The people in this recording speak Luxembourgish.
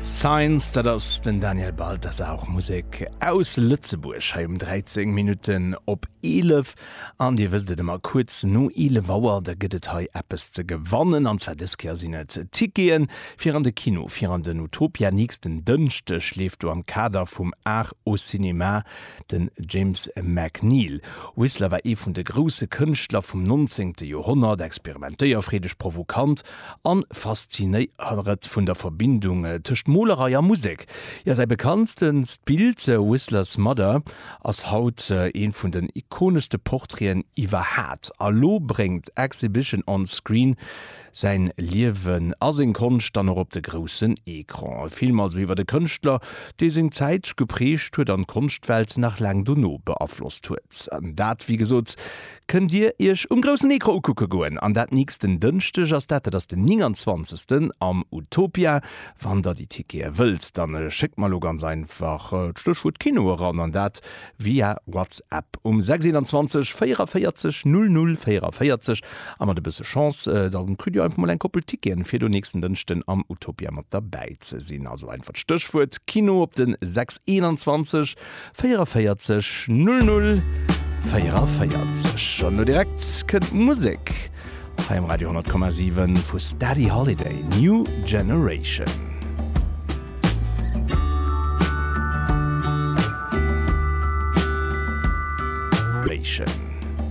Signs, dat ass den Daniel Balthasar, och Musek aus Lëtzebuerg hei um 13 Minutten op 11. An Dir wësst et ëmmer, kuerz no 11 Auer, da gëtt et hei eppes ze gewannen. An zwar dës Kéier sinn et Ticketen fir an de Kino, fir an den Utopia. Nächsten Dënschdeg leeft do am Kader vum Art au Cinéma Den James McNeill Whistler war ee vun de grousse Kënschtler vum 19. Joerhonnert, experimentéierfreedeg, provokant an faszinéiert vun der Verbindung tëscht Molerei a Musek. Jo, säi bekanntst Bild, Whistler's Mother, ass haut ee vun den ikoneschste Portraiten iwwerhaat. A lo bréngt Exhibition on Screen Säin Liewen a seng Konscht dann och op de groussen Ecran. E Film also iwwert e Kënschtler, dee seng Zäit geprägt huet an d'Konschtwelt nach laang dono beaflosst huet. An dat, wéi gesot, kënnt Dir Iech um groussen Ecran ukucke goen. An dat nächsten Dënschdeg ass dat, dat ass den 29. am Utopia. Wann Der déi Tickete wëllt, dann schéckt mer elo ganz einfach d'Stéchwuert Kino eran an dat via WhatsApp um 6 21 44 00 44 a mat e bësse Chance da kritt Dir einfach mol eng Koppel Ticketen fir do nächsten Dënschden am Utopia mat derbäi ze sinn. Also einfach d'Stéchwuert Kino op den 6 21 44 00 44. An lo direkt kënnt d'Musek hei um Radio 100,7 vu Steady Holiday, New Generation. Nation.